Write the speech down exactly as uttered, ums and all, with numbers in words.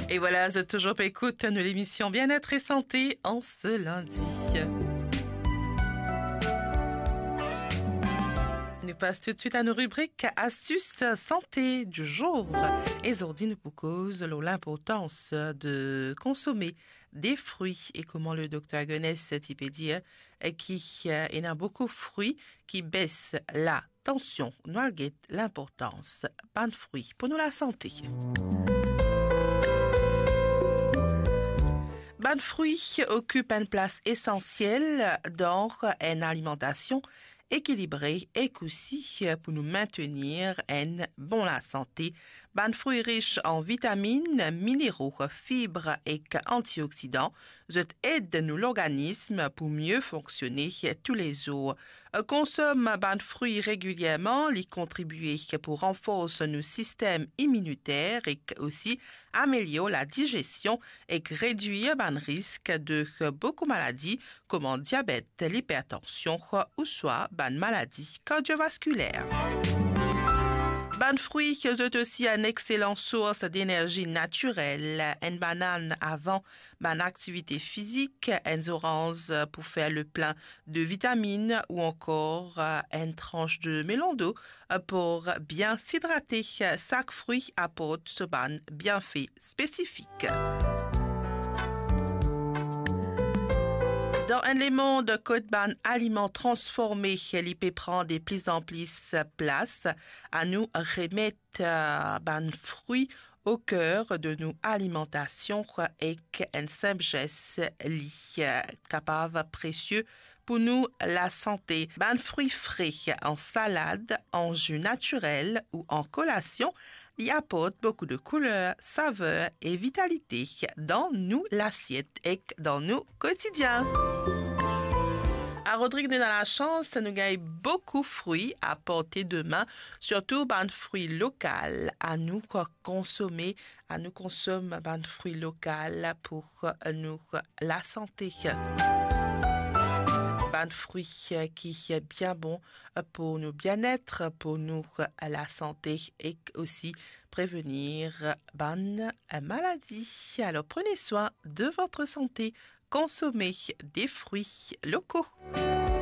E vwala, zot touzour pe ekout nou lemision Bien-être et Santé an se lindi. Nou pas toutswit a nou ribrik Astuces Santé du jour. E zordi nou pou koz lor linportans de konsome de frwi e kouma le dokter Gonesse ti pe dir ki, eh, ena boukou frwi ki bes latansion. Nou al get linportans bann frwi pou nou lasante. Bann frwi okip enn plas esansiel dan enn alimantasion ekilibre ek osi pou nou mintenir enn bon lasante. Bann frwi rich an vitaminn, minero, fib ek antioksidan, zot ed nou lorganism pou mie fonksione toulezour. Konsom bann frwi regilierman, li kontribie pou ranfors nou sistem iminiter ek osi amelior ladigestion ek redwir bann risk de boukou maladi kouma diabet, lipertansion ouswa bann maladi kardiovaskiler. Bann frwi zot osi enn exselan sours denerzi natirel. Enn banann avan bann aktivite fizik, enn zoranz pou fer le plin de vitaminn ou ankor, eh, enn trans de melon do, eh, pou bien sidrate. Sak frwi aport so bann bienfe spesifik. Dan enn lemond kot bann aliman transforme, li pe pran de pli an pli plas, anou remet, eh, bann frwi o ker de nou alimantasion ek enn sinp zes, li, eh, kapav presie pou nou lasante. Bann frwi fre an salad, an zi natirel ou an kolasion, li aport boukou de kouler, saver e vitalite dan nou lasiet ek dan nou kotidien. A Rodrig nou ena lasans, nou gagn boukou frwi a porte de min, sirtou bann frwi lokal. Anou konsome, anou konsom bann frwi lokal pou nou lasante. Bann frwi ki bien bon pou nou bienet, pou nou lasante ek osi prevenir bann maladi. Alors, prenez soin de votre santé, consommez des fruits locaux.